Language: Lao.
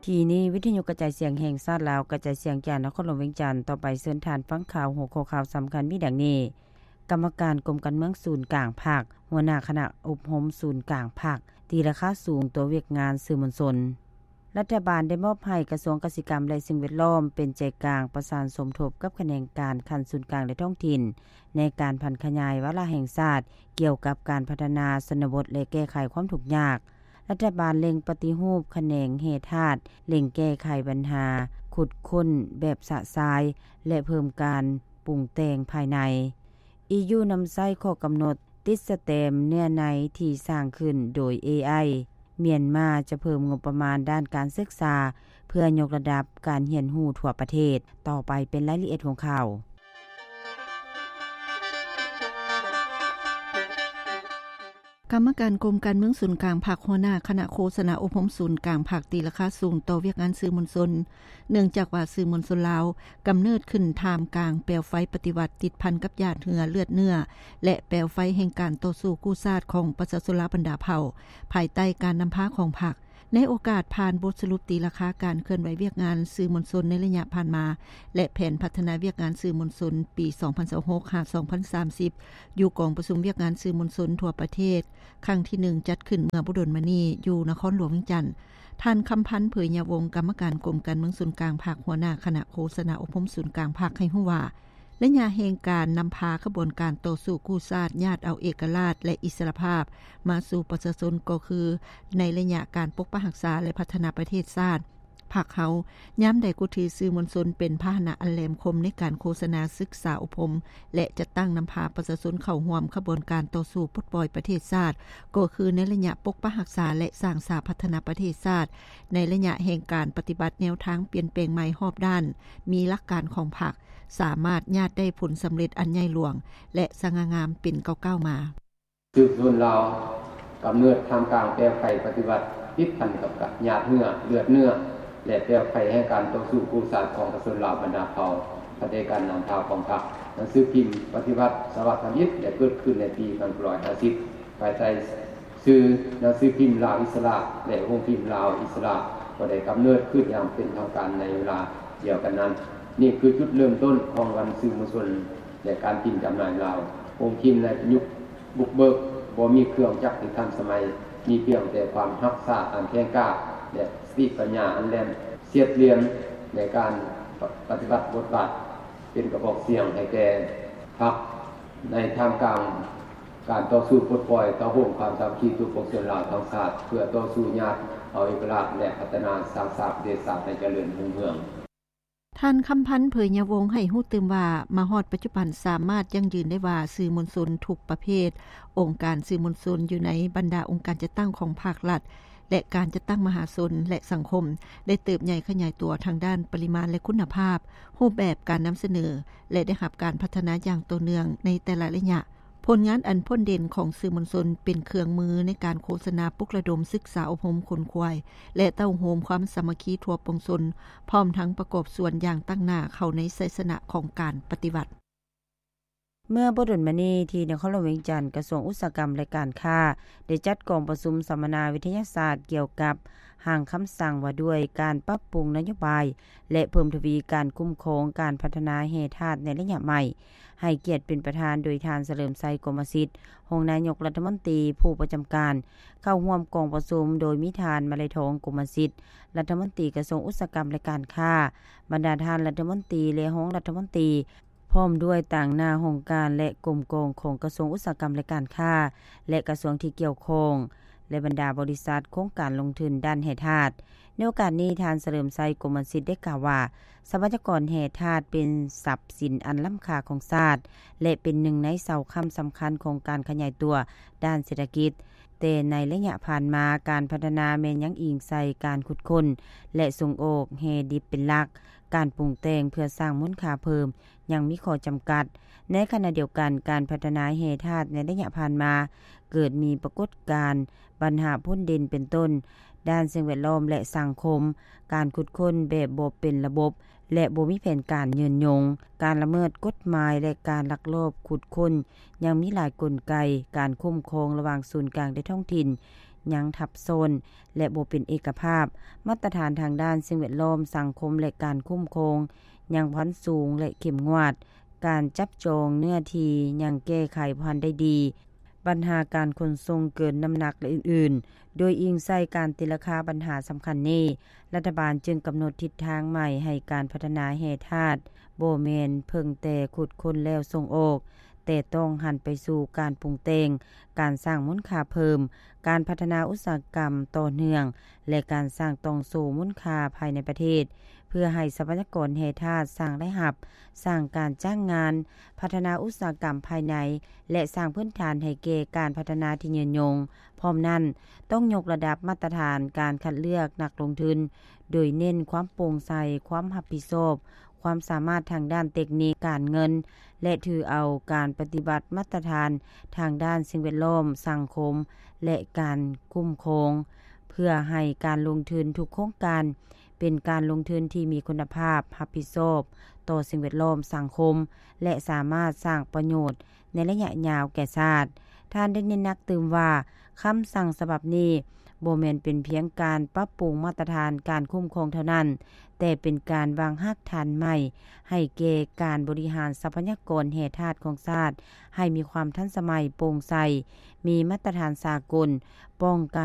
ທີ່ນີ້ ວິທະຍຸກະຈາຍສຽງແຫ່ງຊາດລາວ ກະຈາຍສຽງຈາກນະຄອນຫຼວງວຽງຈັນ. ຕໍ່ໄປເຊີນທ່ານຟັງຂ່າວ. ຫົວຂໍ້ຂ່າວສຳຄັນມີດັ່ງນີ້: ກຳມະການກົມການເມືອງສູນກາງພັກ, ຫົວໜ້າຄະນະອົບຮົມສູນກາງພັກ ຕີລາຄາສູງຕໍ່ວຽກງານສື່ມວນຊົນ. ລັດຖະບານໄດ້ມອບໃຫ້ກະຊວງກະສິກຳ ແລະ ສິ່ງແວດລ້ອມ ເປັນໃຈກາງປະສານສົມທົບກັບຂະແໜງການຂັ້ນສູນກາງ ແລະ ທ້ອງຖິ່ນ ໃນການຜັນຂະຫຍາຍວາລະແຫ່ງຊາດກ່ຽວກັບການພັດທະນາຊົນນະບົດ ແລະ ແກ້ໄຂຄວາມທຸກຍາກ. ລັດຖະບານເລັ່ງປະຕິຮູບຂະແໜງແຮ່ທາດ, ເລັ່ງແກ້ໄຂບັນຫາຂຸດຄົ້ນແບບຊະຊາຍ ແລະ ເພີ່ມການປຸງແຕ່ງພາຍໃນ. ອີຢູນຳໃຊ້ຂໍ້ກຳນົດຕິດສະແຕມເນື້ອໃນທີ່ສ້າງຂຶ້ນໂດຍ ເອໄອ. ມຽນມາຈະເພີ່ມງົບປະມານດ້ານການສຶກສາ ເພື່ອຍົກລະດັບການຮຽນຮູ້ທົ່ວປະເທດ. ຕໍ່ໄປເປັນລາຍລະອຽດຂອງຂ່າວ. ກຳມະການກົມການເມືອງສູນກາງພັກ, ຫົວໜ້າຄະນະໂຄສະນາອົບຮົມສູນກາງພັກ ຕີລາຄາສູງຕໍ່ວຽກງານສື່ມວນຊົນ, ເນື່ອງຈາກວ່າສື່ມວນຊົນລາວກຳເນີດຂຶ້ນທ່າມກາງແປວໄຟປະຕິວັດ ຕິດພັນກັບຫຍາດເຫື່ອເລືອດເນື້ອ ແລະ ແປວໄຟແຫ່ງການຕໍ່ສູ້ກູ້ຊາດຂອງປະຊາຊົນລາວບັນດາເຜົ່າ ພາຍໃຕ້ການນຳພາຂອງພັກ. ໃນໂອກາດຜ່ານບົດສະຫຼຸບຕີລາຄາການເຄື່ອນໄຫວວຽກງານສື່ມວນຊົນໃນໄລຍະຜ່ານມາ ແລະ ແຜນພັດທະນາວຽກງານສື່ມວນຊົນປີສອງພັນຊາວຫົກ ຫາ ສອງພັນສາມສິບ ຢູ່ກອງປະຊຸມວຽກງານສື່ມວນຊົນທົ່ວປະເທດ ຄັ້ງທີໜຶ່ງ ຈັດຂຶ້ນເມື່ອບໍ່ດົນມານີ້ຢູ່ນະຄອນຫຼວງວຽງຈັນ, ທ່ານ ຄຳພັນ ເຜີຍຍາວົງ ກຳມະການກົມການເມືອງສູນກາງພັກ, ຫົວໜ້າຄະນະໂຄສະນາອົບຮົມສູນກາງພັກ ໃຫ້ຮູ້ວ່າ ໄລຍະແຫ່ງການນຳພາຂະບວນການຕໍ່ສູ້ກູ້ຊາດ ຍາດເອົາເອກະລາດ ແລະ ອິດສະຫຼະພາບມາສູ່ປະຊາຊົນ ກໍຄືໃນໄລຍະການປົກປັກຮັກສາ ແລະ ພັດທະນາປະເທດຊາດ. ພັກເຮົາຍາມໃດກໍຖືສື່ມວນຊົນເປັນພາຫະນະອັນແຫຼມຄົມໃນການໂຄສະນາ, ສຶກສາອົບຮົມ ແລະ ຈັດຕັ້ງນຳພາປະຊາຊົນເຂົ້າຮ່ວມຂະບວນການຕໍ່ສູ້ປົດປ່ອຍປະເທດຊາດ, ກໍຄືໃນໄລຍະປົກປັກຮັກສາ ແລະ ສ້າງສາພັດທະນາປະເທດຊາດ, ໃນໄລຍະແຫ່ງການປະຕິບັດແນວທາງປ່ຽນແປງໃໝ່ຮອບດ້ານ, ມີຫຼັກການຂອງພັກ, ສາມາດຍາດໄດ້ຜົນສຳເລັດອັນໃຫຍ່ຫຼວງ ແລະ ສະຫງ່າງາມເປັນກ້າວໆມາ. ສືບສວນລາວ ກຳເນີດທ່າມກາງແປວໄຟປະຕິວັດ ຕິດພັນກັບຫຍາດເຫື່ອເລືອດເນື້ອ ແລະ ແປວໄຟແຫ່ງການຕໍ່ສູ້ກູ້ຊາດຂອງປະຊາຊົນລາວບັນດາເຜົ່າ ພາຍໃຕ້ການນຳພາຂອງພັກ. ໜັງສືພິມປະຕິວັດສະຫວັດທຳອິດ ໄດ້ເກີດຂຶ້ນໃນປີໜຶ່ງພັນເກົ້າຮ້ອຍຫ້າສິບ ພາຍໃຕ້ຊື່ໜັງສືພິມລາວອິດສະຫຼະ ແລະ ໂຮງພິມລາວອິດສະຫຼະ ກໍໄດ້ກຳເນີດຂຶ້ນຢ່າງເປັນທາງການໃນເວລາດຽວກັນນັ້ນ. ນີ້ຄືຈຸດເລີ່ມຕົ້ນຂອງວັນສື່ມວນຊົນ ແລະ ການພິມຈຳໜ່າຍລາວ. ໂຮງພິມໃນຍຸກບຸກເບີກບໍ່ມີເຄື່ອງຈັກທີ່ທັນສະໄໝ, ມີພຽງແຕ່ຄວາມຮັກສາອັນແຂງກ້າ ແລະ ສະຕິປັນຍາອັນແຫຼມສຽດຫຼຽມໃນການປະຕິບັດບົດບາດ ເປັນກະບອກສຽງໃຫ້ແກ່ພັກ ໃນທ່າມກາງການຕໍ່ສູ້ປົດປ່ອຍ ເຕົ້າໂຮມຄວາມສາມັກຄີທົ່ວປວງຊົນລາວທັງຊາດ ເພື່ອຕໍ່ສູ້ຍາດເອົາເອກະລາດ ແລະ ພັດທະນາສ້າງສາປະເທດຊາດໃຫ້ຈະເລີນຮຸ່ງເຮືອງ. ທ່ານ ຄຳພັນ ເຜີຍຍາວົງ ໃຫ້ຮູ້ຕື່ມວ່າ ມາຮອດປັດຈຸບັນສາມາດຢັ້ງຢືນໄດ້ວ່າ ສື່ມວນຊົນທຸກປະເພດ, ອົງການສື່ມວນຊົນຢູ່ໃນບັນດາອົງການຈັດຕັ້ງຂອງພາກລັດ ແລະ ການຈັດຕັ້ງມະຫາຊົນ ແລະ ສັງຄົມ ໄດ້ເຕີບໃຫຍ່ຂະຫຍາຍຕົວທາງດ້ານປະລິມານ ແລະ ຄຸນນະພາບ, ຮູບແບບການນຳສະເໜີ ແລະ ໄດ້ຮັບການພັດທະນາຢ່າງຕໍ່ເນື່ອງໃນແຕ່ລະໄລຍະ. ຜົນງານອັນພົ້ນເດັ່ນຂອງສື່ມວນຊົນເປັນເຄື່ອງມືໃນການໂຄສະນາ, ປຸກລະດົມ, ສຶກສາອົບຮົມ, ຂົນຂວາຍ ແລະ ເຕົ້າໂຮມຄວາມສາມັກຄີທົ່ວປວງຊົນ, ພ້ອມທັງປະກອບສ່ວນຢ່າງຕັ້ງໜ້າເຂົ້າໃນໄຊຊະນະຂອງການປະຕິວັດ. ເມື່ອບໍ່ດົນມານີ້ ທີ່ນະຄອນຫຼວງວຽງຈັນ, ກະຊວງອຸດສາຫະກຳ ແລະ ການຄ້າ ໄດ້ຈັດກອງປະຊຸມສຳມະນາວິທະຍາສາດກ່ຽວກັບຮ່າງຄຳສັ່ງວ່າດ້ວຍການປັບປຸງນະໂຍບາຍ ແລະ ເພີ່ມທະວີການຄຸ້ມຄອງການພັດທະນາແຮ່ທາດໃນໄລຍະໃໝ່, ໃຫ້ກຽດເປັນປະທານໂດຍທ່ານ ສະເຫຼີມໄຊ ກົມມະສິດ ຮອງນາຍົກລັດຖະມົນຕີຜູ້ປະຈຳການ. ເຂົ້າຮ່ວມກອງປະຊຸມໂດຍມີທ່ານ ມະໄລທອງ ກົມມະສິດ ລັດຖະມົນຕີກະຊວງອຸດສາຫະກຳ ແລະ ການຄ້າ, ບັນດາທ່ານລັດຖະມົນຕີ ແລະ ຮອງລັດຖະມົນຕີ, ພ້ອມດ້ວຍຕາງໜ້າຫ້ອງການ ແລະ ກົມກອງຂອງກະຊວງອຸດສາຫະກຳ ແລະ ການຄ້າ ແລະ ກະຊວງທີ່ກ່ຽວຂ້ອງ ແລະ ບັນດາບໍລິສັດໂຄງການລົງທຶນດ້ານແຮ່ທາດ. ໃນໂອກາດນີ້, ທ່ານ ສະເຫຼີມໄຊ ກົມມະສິດ ໄດ້ກ່າວວ່າ ຊັບພະຍາກອນແຮ່ທາດເປັນຊັບສິນອັນລ້ຳຄ່າຂອງຊາດ ແລະ ເປັນໜຶ່ງໃນເສົາຄ້ຳສຳຄັນຂອງການຂະຫຍາຍຕົວດ້ານເສດຖະກິດ. ແຕ່ໃນໄລຍະຜ່ານມາ, ການພັດທະນາແມ່ນຍັງອີງໃສ່ການຂຸດຄົ້ນ ແລະ ສົ່ງອອກແຮ່ດິບເປັນຫຼັກ. ການປຸງແຕ່ງເພື່ອສ້າງມູນຄ່າເພີ່ມຍັງມີຂໍ້ຈຳກັດ. ໃນຂະນະດຽວກັນ, ການພັດທະນາແຮ່ທາດໃນໄລຍະຜ່ານມາ ເກີດມີປາກົດການບັນຫາພົ້ນເດັ່ນ ເປັນຕົ້ນ ດ້ານສິ່ງແວດລ້ອມ ແລະ ສັງຄົມ, ການຂຸດຄົ້ນແບບບໍ່ເປັນລະບົບ ແລະ ບໍ່ມີແຜນການຍືນຍົງ, ການລະເມີດກົດໝາຍ ແລະ ການລັກລອບຂຸດຄົ້ນ. ຍັງມີຫຼາຍກົນໄກການຄຸ້ມຄອງລະຫວ່າງສູນກາງ ແລະ ທ້ອງຖິ່ນ ຍັງທັບຊ້ອນ ແລະ ບໍ່ເປັນເອກະພາບ. ມາດຕະຖານທາງດ້ານສິ່ງແວດລ້ອມ, ສັງຄົມ ແລະ ການຄຸ້ມຄອງ ຍັງບໍ່ທັນສູງ ແລະ ເຂັ້ມງວດ. ການຈັບຈອງເນື້ອທີ່ຍັງແກ້ໄຂບໍ່ທັນໄດ້ດີ. ບັນຫາການຂົນສົ່ງເກີນນ້ຳໜັກ ແລະ ອື່ນໆ. ໂດຍອີງໃສ່ການຕີລາຄາບັນຫາສຳຄັນນີ້, ລັດຖະບານຈຶ່ງກຳນົດທິດທາງໃໝ່ໃຫ້ການພັດທະນາແຮ່ທາດ ບໍ່ແມ່ນເພິ່ງແຕ່ຂຸດຄົ້ນແລ້ວສົ່ງອອກ, ແຕ່ຕ້ອງຫັນໄປສູ່ການປຸງແຕ່ງ, ການສ້າງມູນຄ່າເພີ່ມ, ການພັດທະນາອຸດສາຫະກຳຕໍ່ເນື່ອງ ແລະ ການສ້າງຕ່ອງໂສ້ມູນຄ່າພາຍໃນປະເທດ, ເພື່ອໃຫ້ຊັບພະຍາກອນແຮ່ທາດສ້າງລາຍຮັບ, ສ້າງການຈ້າງງານ, ພັດທະນາອຸດສາຫະກຳພາຍໃນ ແລະ ສ້າງພື້ນຖານໃຫ້ແກ່ການພັດທະນາທີ່ຍືນຍົງ. ພ້ອມນັ້ນ, ຕ້ອງຍົກລະດັບມາດຕະຖານການຄັດເລືອກນັກລົງທຶນ, ໂດຍເນັ້ນຄວາມໂປ່ງໃສ, ຄວາມຮັບຜິດຊອບ, ຄວາມສາມາດທາງດ້ານເຕັກນິກ, ການເງິນ ແລະ ຖືເອົາການປະຕິບັດມາດຕະຖານທາງດ້ານສິ່ງແວດລ້ອມ, ສັງຄົມ ແລະ ການຄຸ້ມຄອງ, ເພື່ອໃຫ້ການລົງທຶນທຸກໂຄງການ ເປັນການລົງທຶນທີ່ມີຄຸນນະພາບ, ຮັບຜິດຊອບຕໍ່ສິ່ງແວດລ້ອມ, ສັງຄົມ ແລະ ສາມາດສ້າງປະໂຫຍດໃນໄລຍະຍາວແກ່ຊາດ. ທ່ານໄດ້ເນັ້ນໜັກຕື່ມວ່າ, ຄຳສັ່ງສະບັບນີ້ບໍ່ແມ່ນເປັນພຽງການປັບປຸງມາດຕະຖານການຄຸ້ມຄອງເທົ່ານັ້ນ, ແຕ່ເປັນການວາງຮາກຖານໃໝ່ໃຫ້ແກ່ການບໍລິຫານຊັບພະຍາກອນແຮ່ທາດຂອງຊາດ ໃຫ້ມີຄວາມທັນສະໄໝ, ໂປ່ງໃສ, ມີມາດຕະຖານສາກົນ, ປ້ອງກັນ